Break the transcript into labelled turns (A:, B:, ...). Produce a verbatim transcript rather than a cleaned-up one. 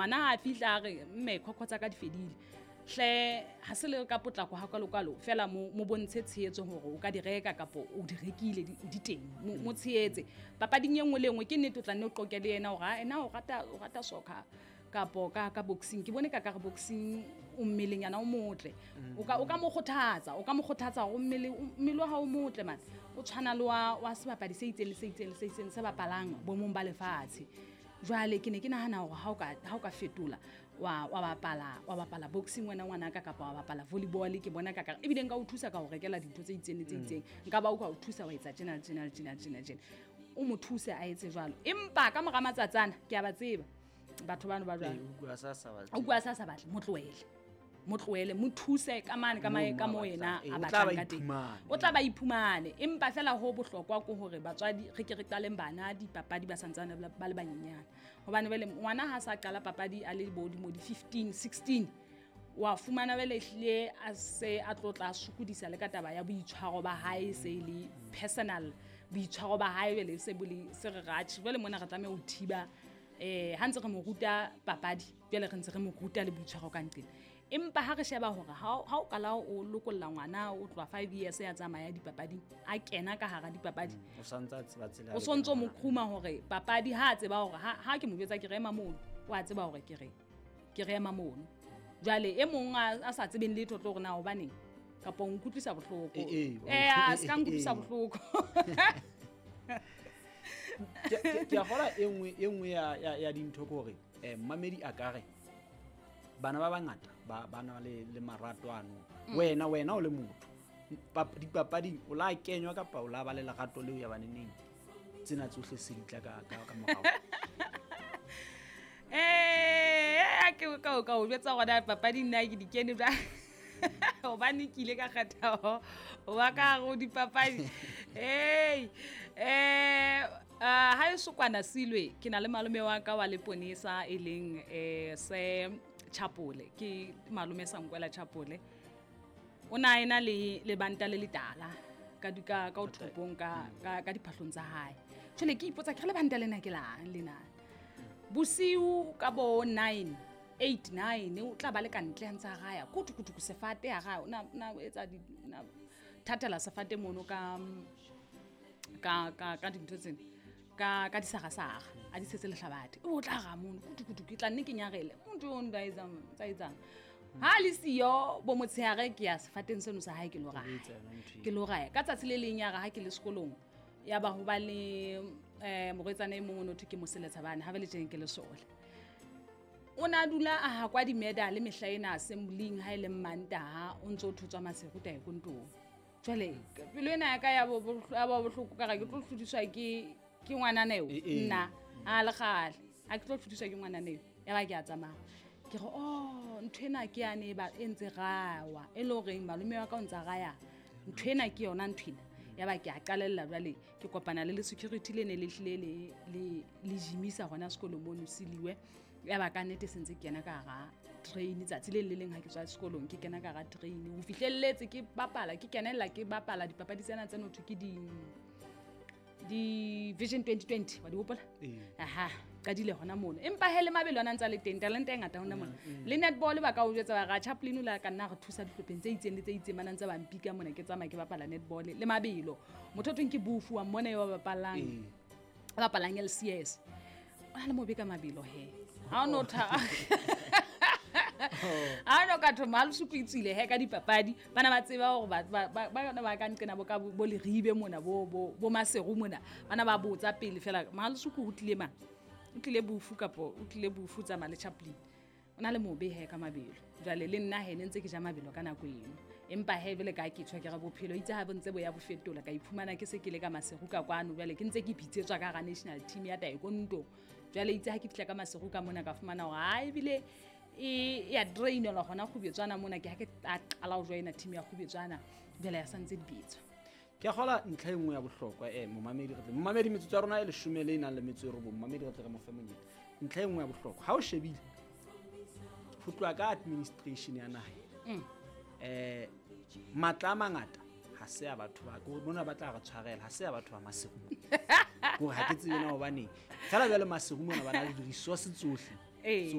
A: Ngwana ha a fihla a re mme khokho tsa ka di fedile, hle ha se le ka potlako hakalokalo fela, mo mo bontshe tshehetso hore o ka di reka kapo o di rekile, di di teng. Mo mo tshehetse papading e nngwe le e nngwe. Ke nnete, o tla nne o qoke le yena hore ha ena o rata, o rata soccer kapo ka ka boxing. Ke bone ka ka re boxing o mmeleng yana o motle, o ka o ka mo kgothatsa, o ka mo kgothatsa hore mmele mmele wa hao o motle man, o tshwana le wa wa sebapadi se itseng le se itseng le se itseng se bapalang bomong ba lefatshe. Jwale ke ne ke nahana hore ha o ka ha o ka fetola wa wa bapala wa bapala boxing wena ngwanaka, kapa wa bapala volleyball, ke bona ka ka ebile nka o thusa ka ho rekela dintho tse itseng le tse itseng, nka ba o ka o thusa wa etsa tjena le tjena le tjena le tjena tjena, o mo thuse a etse jwalo. Empa ka mora matsatsana ke a ba tseba batho bano ba jwalo.
B: Ee, o utlwa sa sa batle.
A: O bua sa sa batle, mo tlohele, mo tlohele, mo thuse ka mane ka mae ka
B: Moo
A: mo
B: a
A: yena
B: batlang. Ee,
A: a
B: o tla
A: batlang
B: ba
A: ka teng.
B: iphumane.
A: O tla ba iphumane. Empa fela ho bohlokwa ke hore batswadi re ke re qaleng bana dipapadi ba santsane ba ba le banyenyane, hobane jwale ngwana ha sa qala papadi a le bo dimo di fifteen sixteen, wa fumana jwale ehlile a se a tlo tla sokodisa le ka taba ya boitshwaro ba hae, se e le personal boitshwaro ba hae jwale se bo le se re ratjhe. Jwale mona re tlameha ho thiba eh ha ntse re mo ruta papadi, jwale re ntse re mo ruta le boitshwaro ka nqena. Empa ha re sheba hore ha o- ha o qala o lokolla ngwana o tloha five years ya tsamaya dipapading, a kena ka hara dipapadi,
B: o santse a tseba tsela ya
A: o sontso mo
B: lekana.
A: Qhuma hore papadi ha a tseba hore ha ha ke mo jwetsa ke re ema mono, o a tseba hore ke re ke re ema mono. Jwale e mong a a sa tsebeng letho tlo hore na hobaneng kapa o nkutlwisa bohloko.
B: Eh, eh,
A: eh a se ka
B: eh,
A: nkutlwisa
B: eh.
A: bohloko.
B: Ke- ke ke a kgolwa e nngwe e nngwe ya ya ya dintho ke hore eh mmamedi a ka re bana ba bangata ba ba na le le marato ano. Wena wena o le motho pap- dipapading, o la kenywa kapa o la ba le lerato leo ya baneneng, tsena tsohle se di tla ka ka ka morao?
A: Eh, ke ka o ka o jwetsa hore na papadi nna ke di kene jwang, hobane ke ile ka kgetha ho ho ba ka hare ho dipapadi. Hey, eh ah, ha e sokwana silwe, ke na le malome wa ka wa leponesa e leng eh se Chapole, ke malome sa Nkwela Chapole. O na ena le lebanta le letala ka di ka ka thopong ka ka ka diphahlong tsa hae. Jwale ke ipotsa ke re lebanta lena ke lang lena. Bosiu ka bo nine eight nine o tla ba le ka ntle a ntse a raya kutu kutu ku sefate a raya, o na na etsa di na thatela sefate mono ka ka ka ka dintho tsena ka ka disarasara a di setse lehlabathe, o tla ra mono kutu kutu, ke tla nne ke nyarele motho o nda etsang tsa etsang ha le siyo bo motshehare, ke ya sefateng seno sa hae ke lo raya.
B: Etsa yona ntho eo.
A: Ke lo raya ka tsatsi le leng ya re ha ke le sekolong, ya ba ho ba le eh morwetsana e mong o no thwe ke Moseletsha bane ha ba le tjeng ke lesole, o na dula a hakwa di-medal mehla ena assembling ha e le Mmantaha, o ntso o thotswa Maseru taekwondong. Jwale pelo ena ya ka ya bo bohlo- ya ba bohloko, ka re ke tlo hlodiswa ke ke ngwanana eo.
B: Eh, eh.
A: Nna a le kgale ha ke tlo hlodiswa ke ngwanana eo. Ya ba ke a tsamaya ke re, oh, ntho ena ke yane e ba e ntse rawa, e le horeng malome wa ka o ntsa raya ntho ena, ke yona ntho ena. Ya ba ke a qalella jwale ke kopana le le security le ne le hlile le le le jimisa hona sekolong mono seliwe. Ya ba ka nnete se ntse ke kena ka hara train tsatsi le le leng ha ke tswa sekolong, ke kena ka hara train ho fihlelletse ke bapala, ke kenella ke bapala dipapadi tsena tse no thwe ke di di Vision twenty twenty, wa di hopola?
B: Ee.
A: Aha, qadile hona mono. Empa he le mabelo ana ntse a le teng, talente e ngata hona mona. Le netball ba ka o jwetsa ba ra Chaplin o la ka nna re thusa dihlopheng tse itseng le tse itseng, bana ntse ba mpika mona ke tsamaya ke bapala netball le mabelo. Motho o thweng ke Bufu wa mmona eo ba bapalang.
B: Ee.
A: Ba bapalang L C S. O na le mobe ka mabelo he. Ha o no tha. Ha no ka thoma le suku itsile he ka dipapadi, bana ba tseba hore ba ba ba ba ba ka nqena bo ka bo bo Leribe mona, bo bo bo Maseru mona, bana ba botsa pele fela Malusuku ho tlile mang, o tlile Bufu kapo o tlile Bufu tsamaya le Chaplin, o na le mobe he ka mabelo. Jwale le nna he ne ntse ke ja mabelo ka nako eno, empa he jwale ka ke tjho ke re bophelo itse ha bo ntse bo ya bo fetola, ka iphumana ke se ke le ka Maseru ka kwano. Jwale ke ntse ke bitsetswa ka hara national team ya taekwondo. Jwale itse ha ke fihla ka Maseru ka mona, ka fumana hore ha ebile e ya drainelwa hona Kgubetswana mona, ke ha ke a qala ho joina team ya Kgubetswana, jwale ya santse di bitswa.
B: Ke a kgola ntlha e nngwe ya bohlokwa, eh momamedi re tle momamedi, metsotso ya rona e leshome le e nang le metso e robong, momamedi re tle re mo fe monyetla. Ntlha e nngwe ya bohlokwa ha o shebile ho tloha ka administration ya naha,
A: Mm.
B: eh matla a mangata ha se a batho ba ko mona ba tla re tshwarela, ha se a batho ba Maseru, hore ha ke tsebe na hobaneng fela jwale Maseru mona ba na le di-resource tsohle
A: Ee.
B: tseo.